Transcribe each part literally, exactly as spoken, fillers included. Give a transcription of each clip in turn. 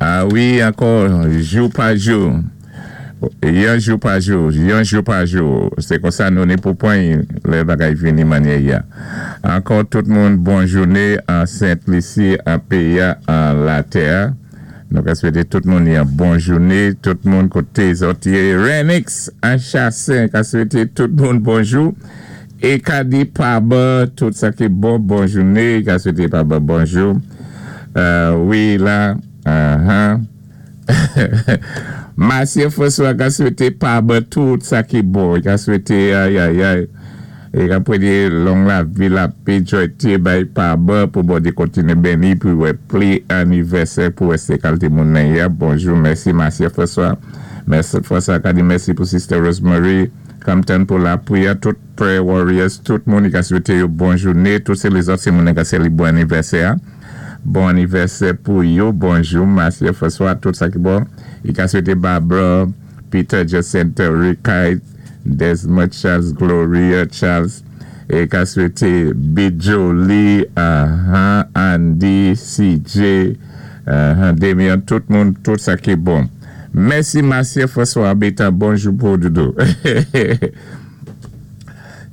Ah wi, ankò, jou pa jou. Yon jou pa jou, yon jou pa jou. Sé konsa nou ni pou pwan lè bagay vini mannyè ya. Ankò tout moun bon jouné an Sent Lisi, an péyi a, an latè. Nou ka swété tout moun yon bon jouné, tout moun koté zòt yé. Renix an Chassin ka swété tout moun bonjou. É ka di pa ba, tout sa ki bon, bon jouné, ka swété pa ba bonjou. Euh, wi, la, uh-huh. Masye François ka swété pa ba tout sa ki bon. Ka swété, ay, ay, ay. É ka pwédé long lavi, lapé, jwayté, bay pa ba pou Bondyé kontiné béni, pi wè pli anivèsè pou wè sé kalité moun nan ya. Bonjou, mèsi Masye François. Mèsi François ka di mèsi pou Sister Rosemary. Compton pou lapriyè, tout prayer warriors, tout moun ka swété yo bon jouné, tout sé lézòt sé moun ka sé bon anivèsè. Bon anivèsè pou yo, bonjou, Masye François, tout sa ki bon. I ka swété Barbara, Peter Jacinta, Rikai, Desmond Charles, Gloria Charles, é ka swété Bijoli, uh-huh, Andy, C J, uh-huh, Damien, tout moun, tout sa ki bon. Mèsi Masye François Beta, bonjou pou doudou.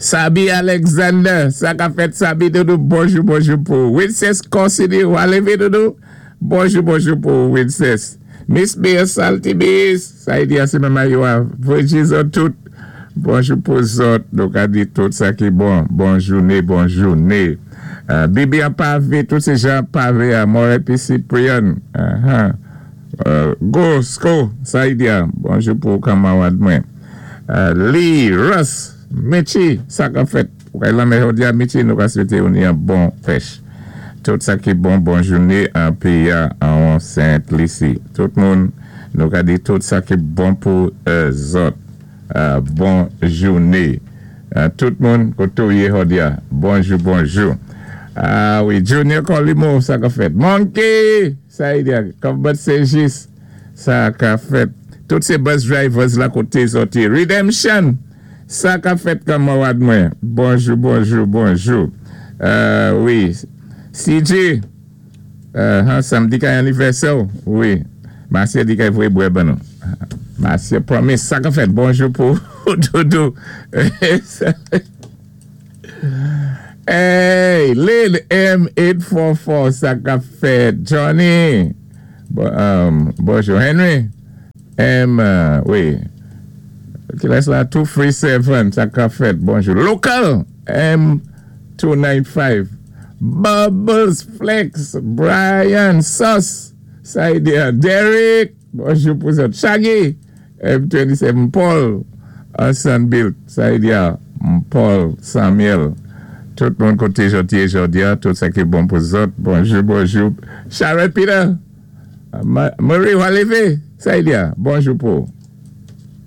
Sabi Alexander, sa ka fèt Sabi doudou, bonjou, bonjou pou. Winces Corsini, ou lévé doudou? Bonjou, bonjou pou Winces. Miss Bia Salty Bees, sa y di a sé menm yo a, Virgin tout. Bonjou pou zòt, nou ka di tout sa ki bon. Bon jouné, bon jouné. Uh, Bibi an pavé, tout sé jan pavé a More P. Cyprian. Uh-huh. Uh, go, sko, sa y di a, bonjou pou kanmawad mwen. Uh, Lee, Russ, Michi, sa ka fèt. Ou kay lanmè jòdi a, Michi, nou ka swété ou ni yon bon pèch. Tout sa ki bon, bon jouné an péyi a an Sent Lisi. Tout moun, nou ka di tout sa ki bon pou euh, zòt. Euh, bon jouné. Euh, tout moun, koto yé jòdi a. Bonjou, bonjou. Ah wi, Junior Colimo, sa ka fèt. Monkey, sa y di a, Combat Sejis, sa ka fèt. Tout sé bus drivers la koté zòt. Redemption, sa ka fèt kanmawad mwen. Bonjou, bonjou, bonjou. Euh, wi, C J, euh, samdi kay anivèsè, wi. Masye di kay voyé bwè ban nou. Masye promise, sa ka fèt. Bonjou pou doudou. Hey, Lil M eight four four, sa ka fèt. Johnny, bon, um, bonjou. Henry, M, uh, wi. Ki lès la, two three seven, sa ka fèt. Bonjou. Local, M two nine five. Bubbles Flex, Brian, Sus, sa y di, Derek, bonjou pou zòt. Shaggy, M twenty-seven, Paul, Hassan Bill, sa y di, Paul, Samuel. Tout moun koté jòdi jòdi a, tout sa ki bon pou zòt. Bonjou, bonjou. Sharon Peter, Marie, ou lévé, sa y di, bonjou pou.